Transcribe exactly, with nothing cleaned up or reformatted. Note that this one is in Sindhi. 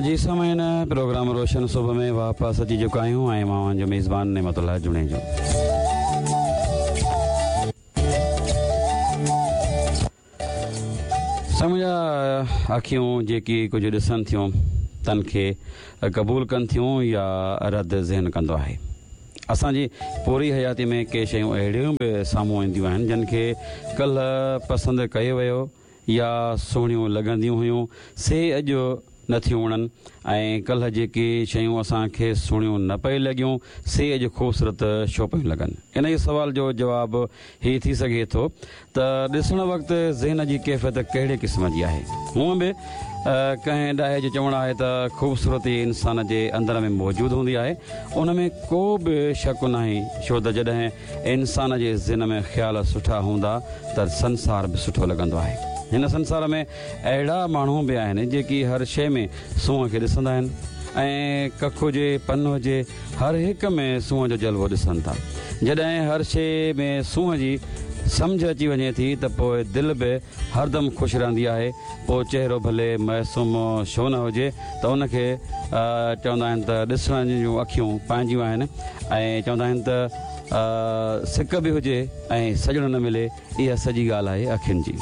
جي سامعين، پروگرام روشن صبح ۾ واپس اچي چڪا آهيون ۽ مان اوهان جو ميزبان نعمت الله جوڻيجو. سمجها اکيون جيڪي ڪجهه ڏسن ٿيون تن کي قبول ڪن ٿيون يا رد ذهن ڪندو آهي. اسان جي پوري حياتي ۾ ڪي شيون اهڙيون به سامهون اينديون آهن جن کي ڪلهه پسند ڪيو ويو يا سهڻيون لڳنديون هيون سي اڄ نٿيون وڻن ۽ ڪلهه جيڪي شيون اسان کي سهڻيون نه پئي لڳيون سي اڄ خوبصورت ڇو پيون لڳن؟ انهيء سوال جو جواب هي ٿي سگهي ٿو ته ڏسڻ وقت ذهن جي ڪيفيت ڪهڙي قسم جي آهي. هونء به ڪنهن ڏاهي جو چوڻ آهي ته خوبصورتي انسان جي اندر ۾ موجود هوندي آهي، ان ۾ ڪو به شڪ ناهي، ڇو ته جڏهن انسان جي ذهن ۾ خيال سٺا هوندا ته سنسار به سٺو لڳندو آهي. هن سنسار ۾ اهڙا ماڻهو به آهن جيڪي هر شيء ۾ سونهن کي ڏسندا آهن ۽ ڪک هجي، پن هجي، هر هڪ ۾ سونهن جو جلوو ڏسن ٿا. جڏهن هر شيء ۾ سونهن جي سمجهه اچي وڃي ٿي ته پوء دل به هردم خوش رهندي آهي. پوء چهرو ڀلي معصوم ڇو نه هجي ته ان کي چوندا آهن ته ڏسڻ جون اکيون پنهنجيون آهن ۽ چوندا آهن ته سڪ به هجي ۽ سڄڻ نه ملي، اها سڄي ڳالهه آهي اکين جي.